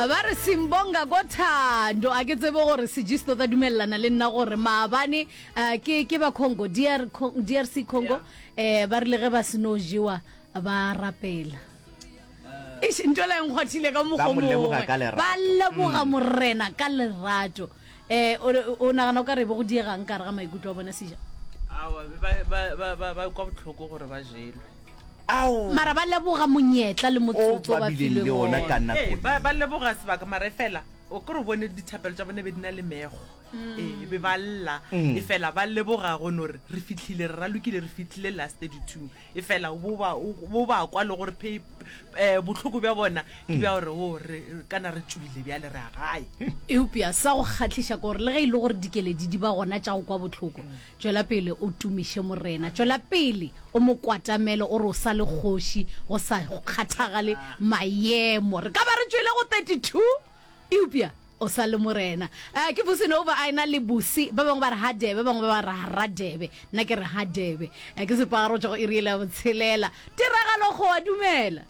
Ba re Simbonga ko thando. A ke tsebe gore Sejisto tla dumelelana le nna gore maabane eh, ke ke ba Congo, DR, DRC Congo, eh ba rile ge ba seno jewa ba rapela. Eish, ntho la e nkgwathile ka Ba mokgwa mo leboga mongwe. ka lerato. Ba leboga Morena ka lerato. Eh o o nagana o ka re be go diegang ka gare ga maikutlo a bona Seja? Aowa, ba, ba, ba, ba, ba kwa bohloko gore ba jelwe. Ao! Mara ba leboga monyetla le O motsotso ba ba bileng le filweng ona ka wona. nako Ee, ba, ye. ba leboga sebaka, mara efela o kore o bone dithapelo tša bone be di na le mekgo. Ee, be ba lla, efela ba leboga go no re re fihlile, re ralokile, re fihlile last 32. Efela bo ba, bo ba kwa le gore phe, eh, bohloko bja bona ke bja gore o re kana re tšwile bjale re ya gae. Eupša sa go kgahliša ke gore le ge e le gore dikeledi di ba gona tša go kwa bohloko, Tšwela pele o tumiše Morena. Tšwela pele o mo kwatamele o re o sa le kgoši go sa kgathagale maemo. Re ka ba re tšwele go 32 eupša o sa le Morena. Uh, ke Vusi Nova a ena le Busi. Ba bangwe ba re Hadebe, ba bangwe ba re Radebe. Nna ke re Hadebe. Uh, ke sepagaro tša go iri ya botshelela. Tiragalo go a dumela.